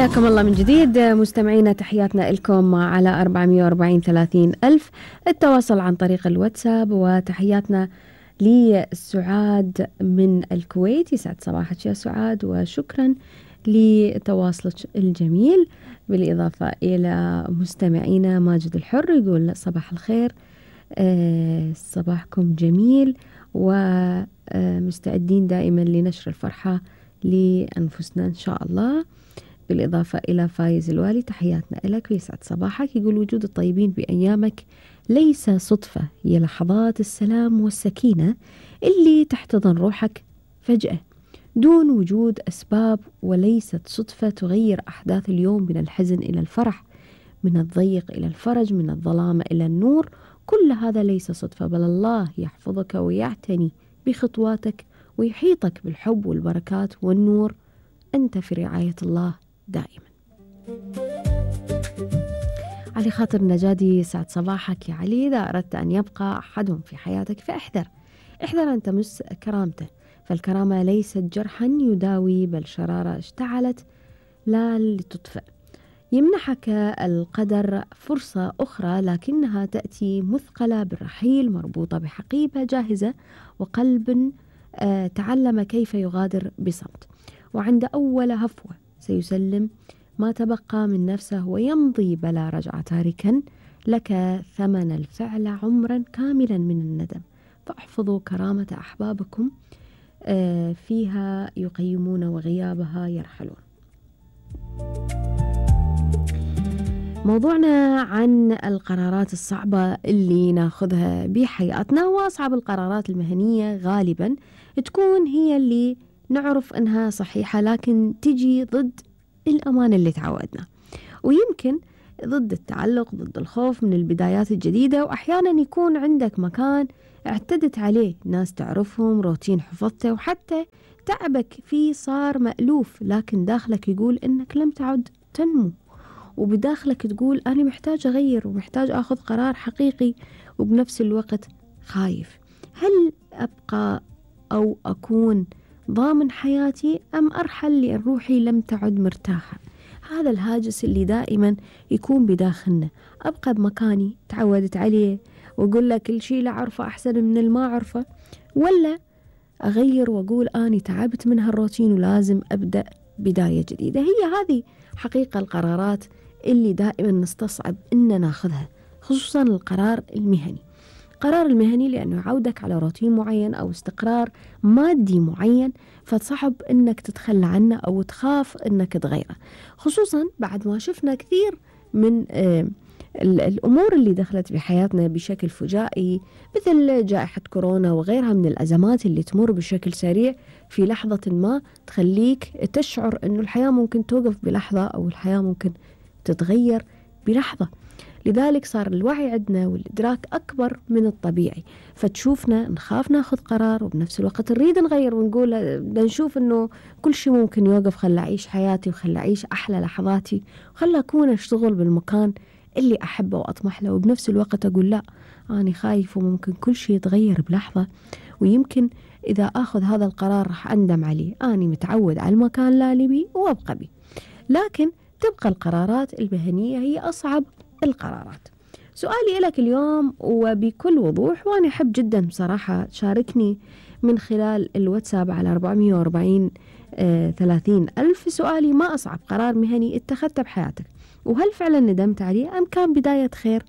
حياكم الله من جديد مستمعينا، تحياتنا لكم على 440 ألف التواصل عن طريق الواتساب، وتحياتنا لسعاد من الكويت. يسعد صباحك يا سعاد وشكرا لتواصلك الجميل. بالإضافة إلى مستمعينا ماجد الحر يقول صباح الخير، صباحكم جميل ومستعدين دائما لنشر الفرحة لأنفسنا إن شاء الله. بالإضافة إلى فايز الوالي تحياتنا لك ويسعد صباحك. يقول وجود الطيبين بأيامك ليس صدفة، هي لحظات السلام والسكينة اللي تحتضن روحك فجأة دون وجود أسباب، وليست صدفة تغير أحداث اليوم من الحزن إلى الفرح، من الضيق إلى الفرج، من الظلام إلى النور. كل هذا ليس صدفة، بل الله يحفظك ويعتني بخطواتك ويحيطك بالحب والبركات والنور. أنت في رعاية الله دائما. علي خاطر نجادي سعد صباحك يا علي. إذا أردت أن يبقى أحدهم في حياتك فاحذر أن تمس كرامته، فالكرامة ليست جرحا يداوي بل شرارة اشتعلت لا لتطفئ. يمنحك القدر فرصة أخرى لكنها تأتي مثقلة بالرحيل، مربوطة بحقيبة جاهزة وقلب تعلم كيف يغادر بصمت، وعند أول هفوة سيسلم ما تبقى من نفسه ويمضي بلا رجعة، تاركا لك ثمن الفعل عمرا كاملا من الندم. فاحفظوا كرامة أحبابكم، فيها يقيمون وغيابها يرحلون. موضوعنا عن القرارات الصعبة اللي ناخذها بحياتنا، وأصعب القرارات المهنية غالبا تكون هي اللي نعرف أنها صحيحة لكن تجي ضد الأمان اللي تعودنا، ويمكن ضد التعلق، ضد الخوف من البدايات الجديدة. وأحيانا يكون عندك مكان اعتدت عليه، ناس تعرفهم، روتين حفظته، وحتى تعبك فيه صار مألوف، لكن داخلك يقول إنك لم تعد تنمو، وبداخلك تقول أنا محتاج أغير ومحتاج أخذ قرار حقيقي، وبنفس الوقت خايف. هل أبقى أو أكون ضامن حياتي أم أرحل لأن روحي لم تعد مرتاحة؟ هذا الهاجس اللي دائما يكون بداخلنا. أبقى بمكاني تعودت عليه وأقول لك كل شيء لا أعرفه أحسن من الما أعرفه، ولا أغير وأقول أنا تعبت من هالروتين ولازم أبدأ بداية جديدة؟ هي هذه حقيقة القرارات اللي دائما نستصعب إن ناخذها، خصوصا القرار المهني. قرار المهني لأنه يعودك على روتين معين أو استقرار مادي معين، فتصعب إنك تتخلى عنه أو تخاف إنك تغيره، خصوصا بعد ما شفنا كثير من الأمور اللي دخلت بحياتنا بشكل فجائي، مثل جائحة كورونا وغيرها من الأزمات اللي تمر بشكل سريع في لحظة ما تخليك تشعر إنه الحياة ممكن توقف بلحظة أو الحياة ممكن تتغير بلحظة. لذلك صار الوعي عندنا والإدراك أكبر من الطبيعي، فتشوفنا نخاف ناخذ قرار وبنفس الوقت نريد نغير ونقول نشوف إنه كل شيء ممكن يوقف، خل أعيش حياتي وخل أعيش أحلى لحظاتي وخل أكون أشتغل بالمكان اللي أحبه وأطمح له. وبنفس الوقت أقول لا، أنا خايف وممكن كل شيء يتغير بلحظة، ويمكن إذا أخذ هذا القرار رح أندم عليه. أنا متعود على المكان لا لي وأبقى بي. لكن تبقى القرارات المهنية هي أصعب القرارات. سؤالي لك اليوم وبكل وضوح، وأنا أحب جدا بصراحة تشاركني من خلال الواتساب على 440 ألف. سؤالي: ما أصعب قرار مهني اتخذته بحياتك؟ وهل فعلا ندمت عليه أم كان بداية خير